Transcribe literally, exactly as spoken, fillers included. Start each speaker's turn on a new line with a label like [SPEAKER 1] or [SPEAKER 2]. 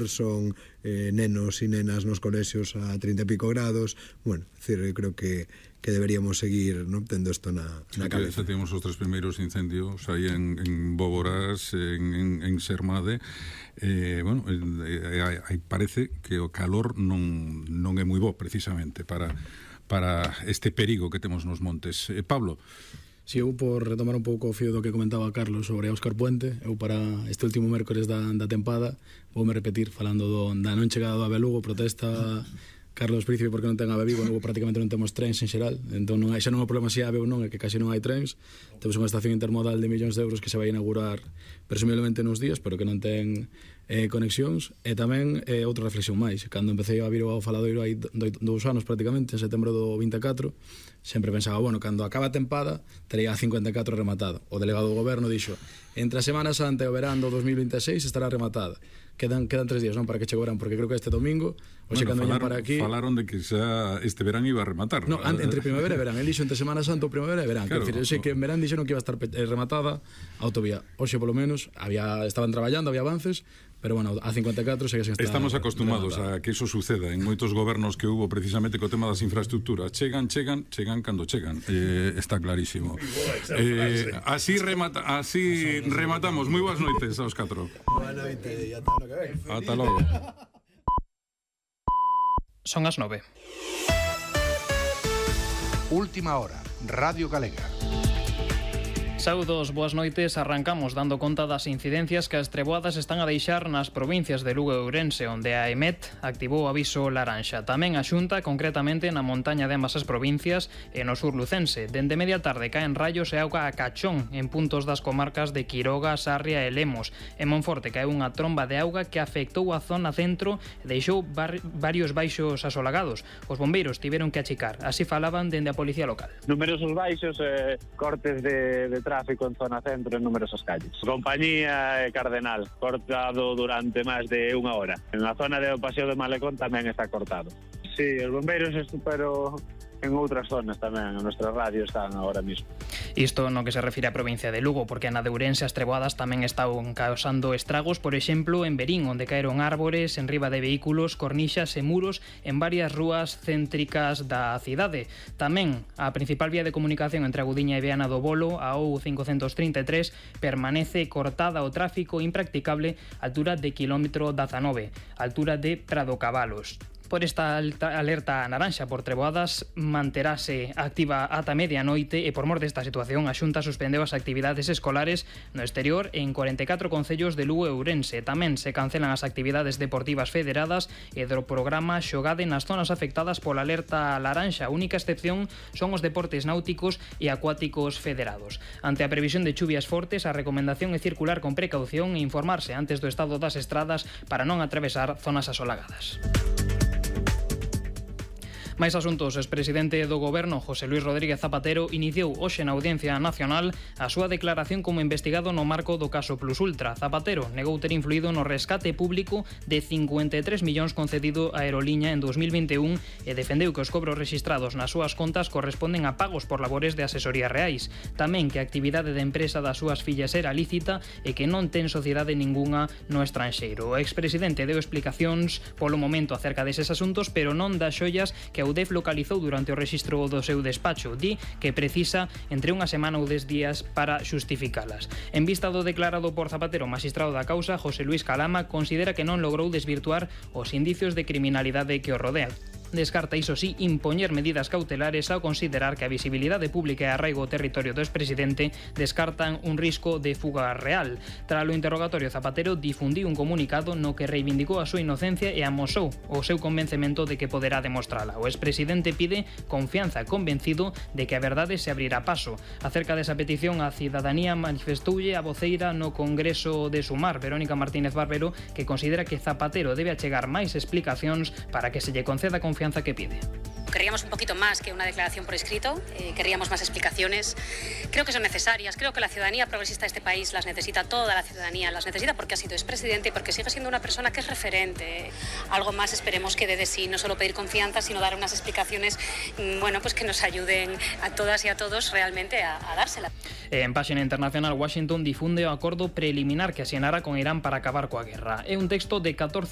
[SPEAKER 1] son eh, nenos e nenas nos colexios a treinta e pico grados. Bueno, decir, eu creo que, que deberíamos seguir, ¿no?, tendo isto na, na cabeza.
[SPEAKER 2] Xa temos os tres primeiros incendios aí en, en Boborás, en, en, en Sermade. Eh, bueno, eh, eh, parece que o calor non, non é moi bo precisamente para, para este perigo que temos nos montes. Eh, Pablo.
[SPEAKER 3] Si, eu por retomar un pouco o fío do que comentaba Carlos sobre Óscar Puente, eu para este último mércores da, da tempada voume repetir falando do, da non chegada do Ave a Lugo, protesta Carlos Príncipe porque non ten Ave Vigo. Lugo prácticamente non temos trens en xeral, entón non hai, xa non é o problema se Ave ou non, é que casi non hai trens. Temos unha estación intermodal de millóns de euros que se vai inaugurar presumiblemente nos días, pero que non ten eh, conexións. E tamén eh, outra reflexión máis, cando empecé a vir ao Faladoiro hai do, dous anos prácticamente, en setembro do vinte e catro, sempre pensaba, bueno, cando acaba a tempada tería a cincuenta e catro rematada. O delegado do goberno dixo, entre a Semana Santa e o verán do dos mil vinte e seis estará rematada. Quedan, quedan tres días, non, para que che o verán, porque creo que este domingo, hoxe
[SPEAKER 2] bueno,
[SPEAKER 3] cando veñan para aquí...
[SPEAKER 2] Falaron de que xa este verán iba a rematar.
[SPEAKER 3] No, entre primavera e verán. El dixo entre Semana Santa ou primavera e verán.
[SPEAKER 2] Claro,
[SPEAKER 3] Quer dizer, eu sei que en verán dixeron que iba a estar rematada a autovía. Hoxe, polo menos, había, estaban traballando, había avances, pero bueno, a cincuenta e catro segue sen estar.
[SPEAKER 2] Estamos acostumados
[SPEAKER 3] rematada.
[SPEAKER 2] a que eso suceda en moitos gobernos que hubo precisamente co tema das infraestructuras. Chegan, chegan, chegan cando chegan. Eh, está clarísimo. Eh, así remata, así rematamos. Moi boas noites aos catro.
[SPEAKER 1] Boa noite e ata o que ven.
[SPEAKER 2] Ata logo.
[SPEAKER 4] Son as nove.
[SPEAKER 5] Última hora, Radio Galega.
[SPEAKER 4] Saudos, boas noites. Arrancamos dando conta das incidencias que as treboadas están a deixar nas provincias de Lugo e Ourense, onde a EMET activou o aviso laranxa. Tamén a Xunta, concretamente na montaña de ambas as provincias e no sur lucense. Dende media tarde caen raios e auga a cachón en puntos das comarcas de Quiroga, Sarria e Lemos. En Monforte caeu unha tromba de auga que afectou a zona centro e deixou varios baixos asolagados. Os bombeiros tiveron que achicar. Así falaban dende a Policía Local.
[SPEAKER 6] Numerosos baixos, eh, cortes de, de tráfico en zona centro en numerosas calles. Compañía e Cardenal, cortado durante máis de unha hora. En a zona de Paseo de Malecón tamén está cortado. Sí, os bombeiros, pero en outras zonas tamén, en nuestra radio están agora mismo.
[SPEAKER 4] Isto no que se refire á provincia de Lugo, porque na de Ourense as treboadas tamén están causando estragos, por exemplo, en Verín, onde caeron árbores en riba de vehículos, cornixas e muros en varias rúas céntricas da cidade. Tamén a principal vía de comunicación entre a Gudiña e Viana do Bolo, a O cincocentos trinta e tres, permanece cortada ao tráfico impracticable a altura de quilómetro dezanove, altura de Prado Cabalos. Por esta alerta naranxa por treboadas manterase activa ata medianoite e por mor desta situación a Xunta suspendeu as actividades escolares no exterior en cuarenta e catro concellos de Lugo e Ourense. Tamén se cancelan as actividades deportivas federadas e do programa Xogade nas zonas afectadas pola alerta laranxa. A única excepción son os deportes náuticos e acuáticos federados. Ante a previsión de chuvias fortes, a recomendación é circular con precaución e informarse antes do estado das estradas para non atravesar zonas asolagadas. Máis asuntos. O expresidente do Goberno, José Luis Rodríguez Zapatero, iniciou hoxe na Audiencia Nacional a súa declaración como investigado no marco do caso Plus Ultra. Zapatero negou ter influído no rescate público de cincuenta e tres millóns concedido a Aeroliña en dos mil vinte e un e defendeu que os cobros rexistrados nas súas contas corresponden a pagos por labores de asesoría reais. Tamén que a actividade da empresa das súas fillas era lícita e que non ten sociedade ningunha no estranxeiro. O expresidente deu explicacións polo momento acerca deses asuntos, pero non das xoias que a U D E F localizou durante o rexistro do seu despacho. Di que precisa entre unha semana ou dez días para xustificalas. En vista do declarado por Zapatero, magistrado da causa, José Luis Calama, considera que non logrou desvirtuar os indicios de criminalidade que o rodean. Descarta, iso sí, impoñer medidas cautelares ao considerar que a visibilidade pública e arraigo ao territorio do expresidente descartan un risco de fuga real. Tras o interrogatorio, Zapatero difundiu un comunicado no que reivindicou a súa inocencia e amosou o seu convencemento de que poderá demostrala. O expresidente pide confianza, convencido de que a verdade se abrirá paso. Acerca desa petición, a cidadanía manifestoulle a voceira no Congreso de Sumar, Verónica Martínez Barbero, que considera que Zapatero debe achegar máis explicacións para que se lle conceda confianza que pide.
[SPEAKER 7] Querríamos un poquito más que una declaración por escrito, eh, querríamos más explicaciones. Creo que son necesarias, creo que la ciudadanía progresista de este país las necesita, toda la ciudadanía las necesita porque ha sido expresidente y porque sigue siendo una persona que es referente. Algo más esperemos que dé de sí, no solo pedir confianza, sino dar unas explicaciones, bueno, pues que nos ayuden a todas y a todos realmente a, a dársela.
[SPEAKER 4] En páxina internacional, Washington difunde o acordo preliminar que asinara con Irán para acabar coa guerra. É un texto de catorce